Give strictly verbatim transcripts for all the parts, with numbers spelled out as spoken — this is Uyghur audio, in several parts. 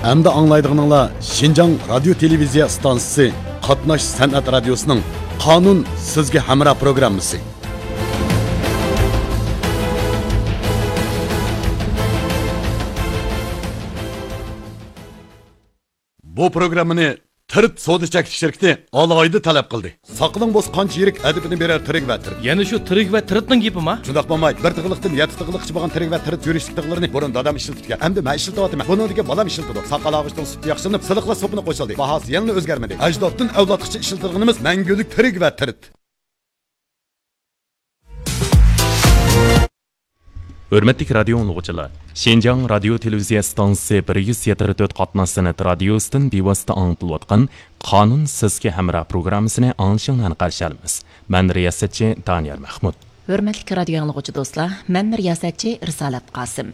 ئەمدى ئاڭلايدىغىنىڭلار شىنجاڭ رادىيو تېلېۋىزىيە ئىستانسىسى قاتناش سەنئەت رادىيوسىنىڭ قانۇن سىزگە ھەمراھ پروگراممىسى. بۇ پروگراممىنى تىرىت سودا چەكلىك شىركىتى ئالاھىدە تەلەپ قىلدى. ساقىلىڭ بولسا قانچە يىرىك ئەدىپىنى بېرەر تىرىك ۋە تىرىت. يەنە شۇ تىرىك ۋە تىرىتنىڭ گېپىما؟ شۇنداق بولماي، بىر تىغلىقتىن يەتتە تىغلىققىچە بولغان تىرىك ۋە تىرىت يۈرۈشلۈك تىغلىرىنى بۇرۇن دادام ئىشلىتىپتىكەن. ئەمدى مەن ئىشلىتىۋاتىمەن. بۇنىڭدىكى بالام ئىشلىتىدۇ. ساقال ئاغۇچىنىڭ سۈپىتى ياخشىلىنىپ، سىلىقلاش سوپىنى قوشۇلدى. باھاسى يەنىلا ئۆزگەرمىدى. ئەجدادتىن ئەۋلادقىچە ئىشلىتىدىغىنىمىز مەڭگۈلۈك تىرىك ۋە تىرىت. ھۆرمەتلىك رادىيو ئاڭلىغۇچىلار، شىنجاڭ رادىيو تېلېۋىزىيە ئىستانسىسى بىر يۈز يەتتە تۆت قاتناش سەنئەت رادىيوسىدىن بىۋاسىتە ئاڭلىتىلىۋاتقان قانۇن سىزگە ھەمراھ پروگراممىسىنى ئاڭلىشىڭلارنى قارشى ئالىمىز. مەن رىياسەتچى دانىيار مەخمۇت. ھۆرمەتلىك رادىيو ئاڭلىغۇچى دوستلار، مەن رىياسەتچى رىسالەت قاسىم.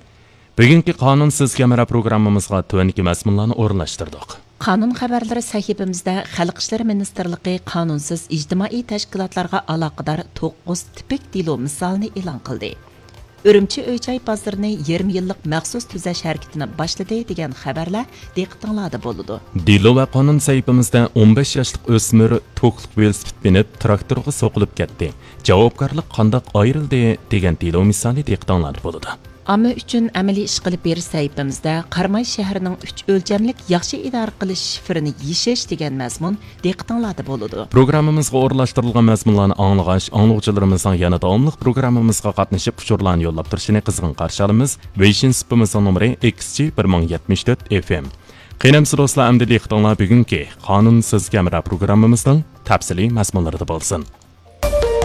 بۈگۈنكى قانۇن سىزگە ھەمراھ پروگراممىمىزغا تۆۋەندىكى مەزمۇنلارنى ئورۇنلاشتۇردۇق. قانۇن خەۋەرلىرى سەھىپىمىزدە خەلق ئىشلىرى مىنىستىرلىقى قانۇنسىز ئىجتىمائىي تەشكىلاتلارغا ئالاقىدار توققۇز تىپىك دېلو مىسالىنى ئېلان قىلدى. ئۈرۈمچى ئۆي-جاي بازىرىنى يېرىم يىللىق مەخسۇس تۈزەش ھەرىكىتىنى باشلىدى دېگەن خەۋەرلەر دىققىتىڭلاردا بولىدۇ. دېلو ۋە قانۇن سەھىپىمىزدە ئون بەش ياشلىق ئۆسمۈر توكلۇق ۋېلىسىپىت مىنىپ تىراكتورغا سوقۇلۇپ كەتتى. جاۋابكارلىق قانداق ئايرىلدى دېگەن دېلو مىسالى دىققىتىڭلاردا بولىدۇ. ئامما ئۈچۈن ئەمەلىي ئىشقىلىپ بېرىش سەھىپىمىزدە قاراماي شەھىرىنىڭ ئۈچ ئۆلچەملىك ياخشى ئىدارە قىلىش شىفىرىنى يېشىش دېگەن مەزمۇن دىققىتىڭلاردا بولىدۇ. پروگراممىمىزغا ئورۇنلاشتۇرۇلغان مەزمۇنلارنى ئاڭلىغاچ، ئاڭلىغۇچىلىرىمىزنىڭ يەنە داۋاملىق پروگراممىمىزغا قاتنىشىپ ئۇچۇرلارنى يوللاپ تۇرۇشىنى قىزغىن قارشى ئالىمىز. ۋېيشىن سۇپىمىزنىڭ نومۇرى ئېكس جى بىر مىڭ يەتمىش تۆت ئېف ئېم. قېنى ئەمىسە دوستلار، ئەمدى دىققىتىڭلار بۈگۈنكى قانۇن سىزگە ھەمراھ پروگراممىمىزنىڭ تەپسىلىي مەزمۇنلىرىدا بولسۇن.